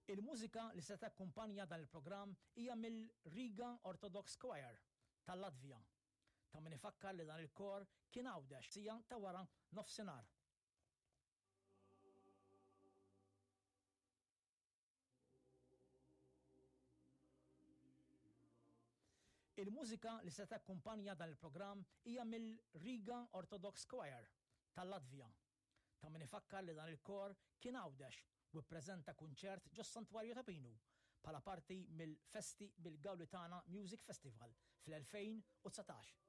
Il-mużika li se takkumpanja dan il-programm hija mill-Riga Orthodox Choir tal-Latvja. Ta' min ifakkar li dan il-kor kien Għawdex siegħa ta' wara nofsinhar. Il-mużika li se takkumpanja dan il-programm hija mill-Riga Orthodox Choir tal-Latvja. Ta' min ifakkar li dan il-kor kien Għawdex u ppreżenta kunċert ġos-Santwarju ta' Pinu bħala parti mill-festi mill-Gaulitana Music Festival fl-2019.